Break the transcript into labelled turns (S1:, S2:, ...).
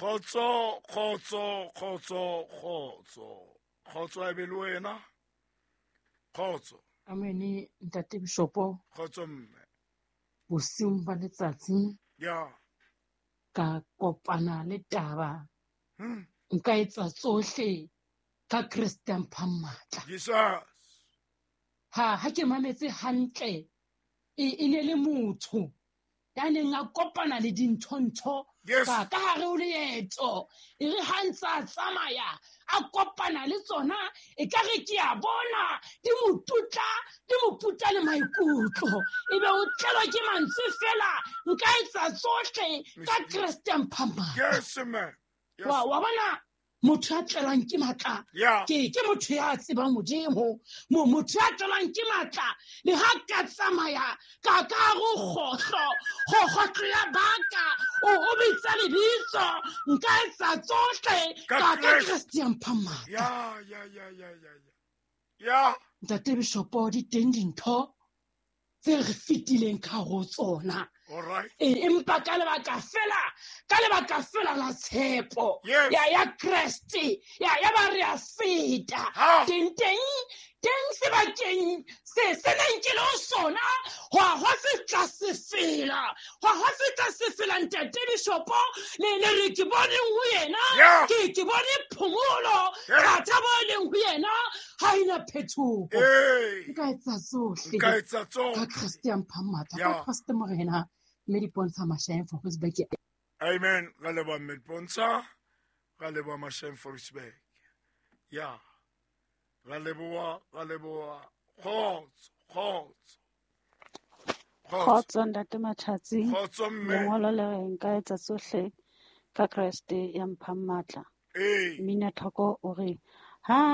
S1: Kgotso, kgotso, kgotso, kgotso. Kgotso a be le wena. Kgotso.
S2: Amene ntate Bishopo.
S1: Kgotso mme.
S2: Bosiung ba letsatsi.
S1: Ya.
S2: Ka kopana le taba. Nka etsa tsohle ka Kreste a mphang matla.
S1: Jesus.
S2: Ha ke mametse hantle e ne le motho ya neng a kopana le dintho-ntho ka ka hare ho leeto. E re ha ntse a tsamaya a kopana le tsona, e ka re ke a bona di mo tutla, di mo puta le maikutlo. Ebe o tlelwa ke mantswe fela, nka etsa tsohle ka Kreste a mphang matla.
S1: Yes, ma'am. Yes.
S2: Wa bona motho ya tlelwang ke matla, ke motho ya tsebang Modimo. Motho ya tlelwang ke matla, le ha ka tsamaya ka ka go kgohlo, go kgohlo ya baka, o bitsa lebitso, nka etsa tsohle
S1: Ka
S2: ka
S1: Kreste.
S2: Kreste ya mphang matla.
S1: Ya, ya, ya, ya, ya, ya. Ya.
S2: Ntate Bishopo, di teng dintho tse re fetileng ka ho tsona.
S1: All right.
S2: Empa ka lebaka fela, ka lebaka fela la tshepo
S1: Yes.
S2: ya Kreste, ya ba re a feta.
S1: Ha.
S2: Teng, teng, teng sebakeng se neng ke le ho sona, hwa fihla sefela. Hwa fihla sefela, ntate Bishopo, le re ke boneng ho yena,
S1: Yeah.
S2: ke bone phomolo,
S1: Yeah.
S2: ka thabo e leng ho yena, ha ena phetoho.
S1: Hey.
S2: Nka etsa tsohle.
S1: Nka etsa tsohle.
S2: Ka Kreste ya mphang matla. Ka
S1: Yeah.
S2: Kreste Morena. Mme Dipontsha Mashaeng Forestburg.
S1: Amen. Ra leboha mme Dipontsha. Ra leboha Mashaeng Forestburg. Ya. Ra leboha, ra leboha. Kgotso, kgotso. Kgotso.
S3: Kgotso, ntate Matjhatsi.
S1: Kgotso, mme.
S3: Lengolo le re nka etsa tsohle ka Kreste ya mphang matla.
S1: Ee.
S3: Mmina Thoko o re, ha